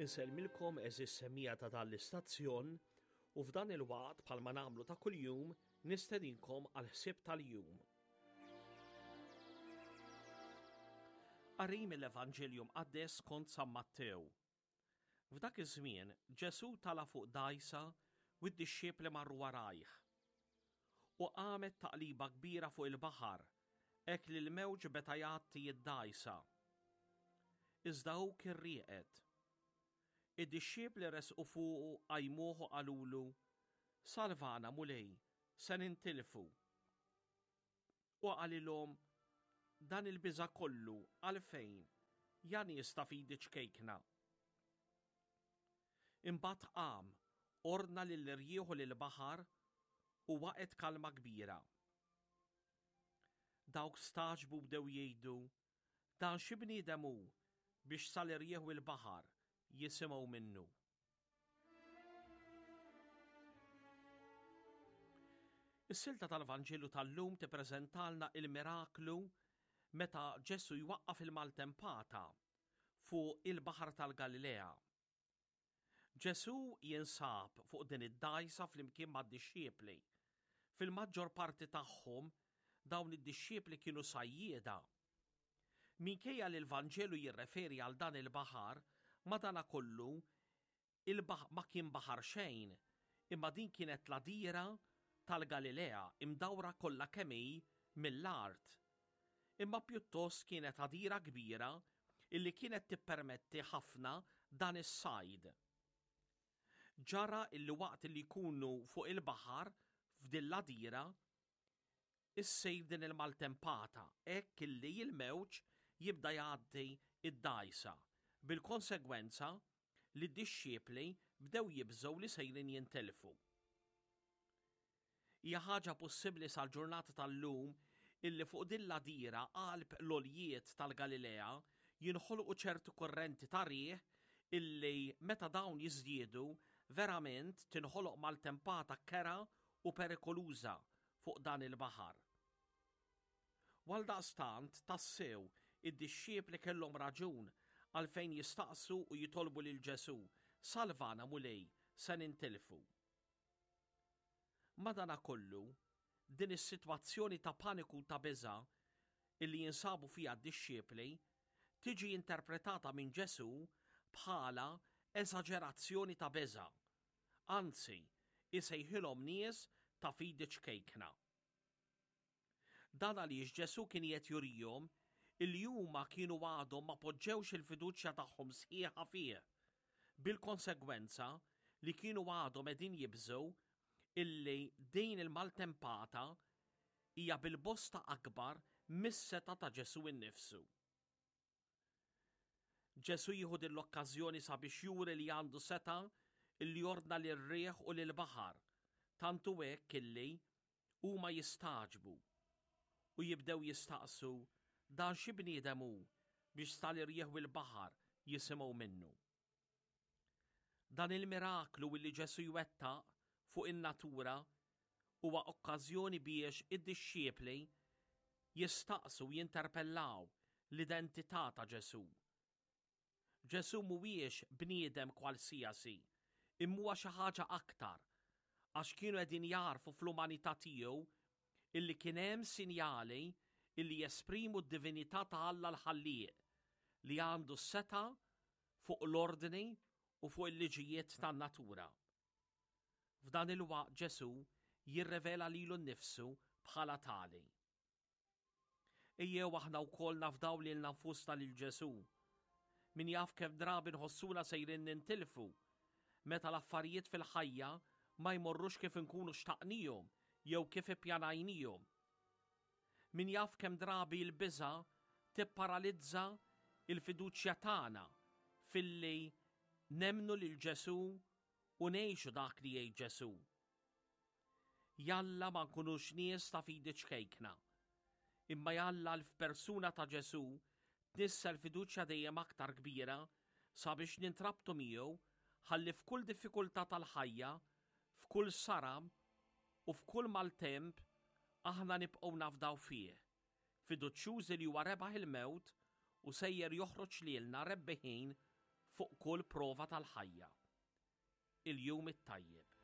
Insellmilkom għeżież semmiegħa ta' dan l-istazzjon u f'dan il-waqt bħalma nagħmlu ta' kuljum nistedinkom għal ħsieb tal-jum. Qari mill-Evanġelju Mqaddes skont San Mattew. F'dak iż-żmien Ġesù tala' fuq dgħajsa u d-dixxipli marru warajh. U qamet taqliba kbira fuq il-baħar, hekk li l-mewġ beta jgħatti d-dgħajsa. Iżda hu kien rieqed. Id-dixxipli resqu fuqu qajmuh u qalulu, Salvana, Mulej, se nintilfu. U qalilhom, Dan il-biża' kollu għalfejn, ja nies ta' fidi ċkejkna? Imbagħad qam, ordna lill-irjieħ u lill-baħar, u waqgħet kalma kbira. Dawk stagħġbu bdew jgħidu, Dan xi bniedem hu biex sal-irjieħ u l-baħar jisimgħu minnu? Is-silta tal-Vanġelu tal-lum tippreżentalna il-miraklu meta Ġesù jwaqqaf il-maltempata fuq il-Baħar tal-Galilea. Ġesù jinsab fuq din id-dgħajsa flimkien mad-dixxipli. Fil-maġġor parti tagħhom dawn id-dixxipli kienu sajjieda. Minkejja li l-Vanġelu jirreferi għal dan il-baħar, madanakollu il-baħ ma kien baħar xejn, imma din kienet l-għadira tal-Galilea imdawra kollha kemm hi mill-art. Imma pjuttost kienet għadira kbira illi kienet tippermetti ħafna dan is-sajd. Ġara illi waqt li jkunu fuq il-baħar f'din l-għadira, issir din il-maltempata hekk illi l-mewġ jibda jgħaddi d-dgħajsa, bil-konsegwenza li d-dixxipli bdew jibżgħu li sejrin jintilfu. Hija ħaġa possibbli sal-ġurnata tal-lum illi fuq din l-għadira qalb l-għoljiet tal-Galilea jinħolqu ċerti kurrenti ta' riħ illi meta dawn jiżdiedu verament tinħoloq maltempata kerha u perikoluża fuq dan il-baħar. U għaldaqstant, tassew, id-dixxipli kellhom raġun għalfejn jistaqsu u jitolbu lil Ġesù, Salvana, Mulej, se nintilfu. Madanakollu, din is-sitwazzjoni ta' paniku u ta' biża' illi jinsabu fiha d-dixxipli tiġi interpretata minn Ġesù bħala eżaġerazzjoni ta' biża'. Anzi, isejħilhom nies ta' fidi ċkejkna. Dan għaliex Ġesù kien qiegħed jurihom illi huma kienu għadhom ma poġġewx il-fiduċja tagħhom sħiħa fih, bil-konsegwenza li kienu għadhom qegħdin jibżgħu illi din il-maltempata hija bil-bosta akbar mis-setgħa ta' Ġesù innifsu. Ġesù jieħu din l-okkażjoni sabiex juri li għandu setgħa illi jordna lir-riħ u lill-baħar, tant hu hekk illi huma jistagħġbu u jibdew jistaqsu dan xi bniedem hu biex sal-irjieħ u l-baħar jisimgħu minnu. Dan il-miraklu illi Ġesù jwettaq fuq in-natura huwa okkażjoni biex id-dixxiepli jistaqsu u jinterpellaw l-identità ta' Ġesù. Ġesù mhuwiex bniedem kwalsiasi, imma huwa xi ħaġa aktar, għax kienu qegħdin jagħrfu fl-umanità tiegħu illi kien hemm sinjali illi jesprimu d-divinità ta' Alla l-Ħallieq li għandu s-setgħa fuq l-ordni u fuq il-liġijiet tan-natura. F'dan il-waqt Ġesù jirrevela lilu nnifsu bħala tali. Ejjew aħna wkoll nafdaw lilna nfusna lil Ġesù. Min jaf kemm drabi nħossuna sejrin nintilfu meta l-affarijiet fil-ħajja ma jmorrux kif inkunu xtaqnihom jew kif ippjanajnihom. Min jaf kemm drabi l-biża' tipparalizza l-fiduċja tagħna filli nemmnu lil Ġesù u ngħixu dak li jgħid Ġesù. Jalla ma nkunux nies ta' fidi ċkejkna, imma jalla l-f'persuna ta' Ġesù tnissel fiduċja dejjem aktar kbira sabiex nintrabtu miegħu ħalli f'kull diffikultà tal-ħajja, f'kull saram u f'kull maltemp aħna nibqgħu nafdaw fih, fiduċjużi li huwa rebaħ il-mewt u sejjer joħroġ lilna rebbiħin. fuq kull prova tal-ħajja. Il-jum it-tajjeb.